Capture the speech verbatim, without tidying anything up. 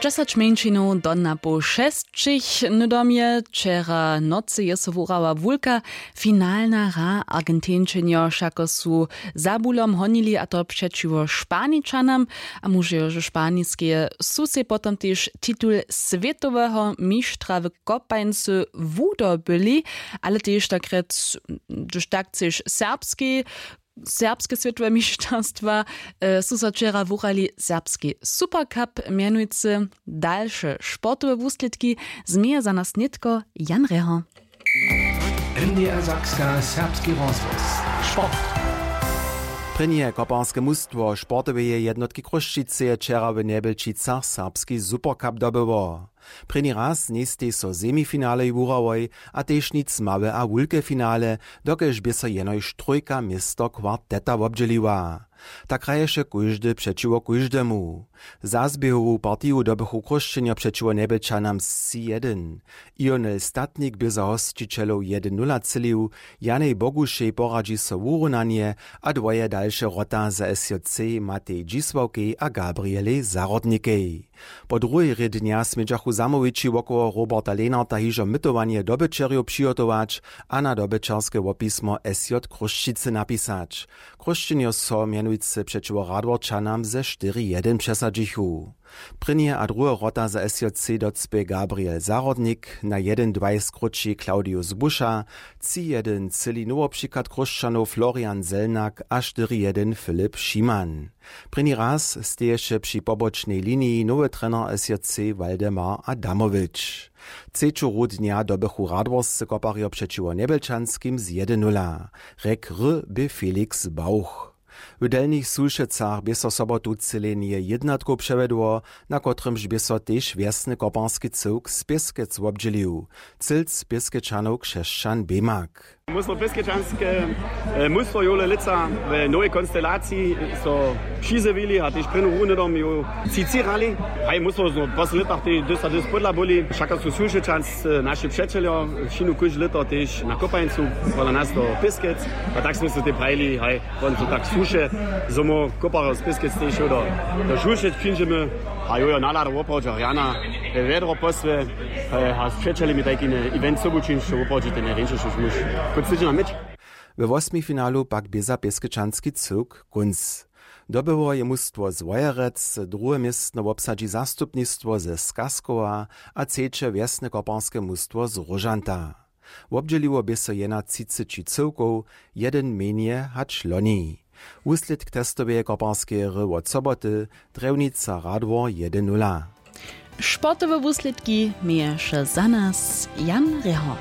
Dźesać mjeńšinow do napoł šesćich. Hnydom je wčera nocy je so wurała wulka finalna hra. Argentinčenjo wšako su za bulom honili, a to přećiwo Španičanam. A móže jo, że španiskeje su sej potom tež titul swětoweho mištra w kopańcy wudobyli, ale tež takrjec, hdyž tak chceš, serbski serbske swětowe mišćerstwa, e, su so wčera wuhrali serbski Supercup. Mjenujcy dalše sportowe wuslědki změje za nas nětko Jan Reho. N D R Sakska, serbski rozhłos. Sport. Prěnje koparske mustwo sportoweje jednotki Chrósćiceje wčera w Njebjelčicach serbski Supercup dobyło. Prěni raz njejstej so semifinale wuhrałoj a tež nic małe a wulke finale, dokelž bě so jenož trójka město kwarteta wobdźěliła. Tak hraješe kóždy přećiwo kóždemu. Za zběhowu partiju dobychu Chrósćenjo přećiwo Njebjelčanam tři jedyn. Ionel Statnik bě za hosćićelow jedyn nula třělił, Janej Bogušej poradźi so wurunanje a dwoje dalše wrota za S J C Matej Dźisławkej a Gabrielej Zahrodnikej. Po druhej rě dnja smědźachu zamołwići wokoło Roberta Lenarta hižo mytowanje dobyćerjow přihotować a na dobyćerske wopismo S J Chrósćicy napisać. Chrósćenjo so mjenujcy přećiwo Radworčanam ze štyri jedyn přesadźichu. Prěnje a druhe wrota za S J C docpě Gabriel Zahrodnik, na jedyn dwaj skróći Claudius Buša, tři jedyn třěli nowopřichad Chrósćanow Florian Zelnak a štyri jedyn Filip Šiman. Prěni raz steješe při pobočnej liniji nowy trener S J C Waldemar Adamowić. Třeću hru dnja dobychu Radworscy koparjo přećiwo Njebjelčanskim z jedyn nula. Rjek hry bě Felix Bauch. W Delnich Sulšecach bě so sobotu třělenje jědnatkow přewjedło, na kotrymž bě so tež wjesny koparski cyłk z Pěskec wobdźělił. Cylc Pěskečanow Křesćan Bemak. Mustwo Pěskečanske, e, mustwo jowle lětsa w nowej konstelaciji so přizjewili a tež prěnu rundu dom ju tři tři hrali. Haj, mustwo zno w poslednich lětach tež dys a dys podla byli. Wšako su Sulšečans, e, naši přećeljo, wšinu kóžde lěto tež na kopańcu, pola nas do Pěskec. A tak smy se tej prajili, haj, won su tak słuše, zo móhł koparjo z Pěskec tež do, do Sulšec přińdźemy. A jo, jo, nalada woprawdźe rjana, e, wjedro posłe. E, a z přećelemi tajki event sobu čińć, to woprawdźe ten rjeńšeši muž. Kónc tydźenja měć. We wosmifinalu pak bě za pěskečanski cyłk kónc. Dobyło je mustwo z Wojerec, druhe městno wobsadźi zastupnistwo ze Skaskowa a třeće wjesne koparske mustwo z Róžanta. Wobdźěliło bě so jena třiceći cyłkow, jedyn mjenje hač loni. Wuslědk testoweje koparskeje hry wot soboty: Drjewnica Radwor jedyn nula. Sportowe wuslědki měješe za nas Jan Reho.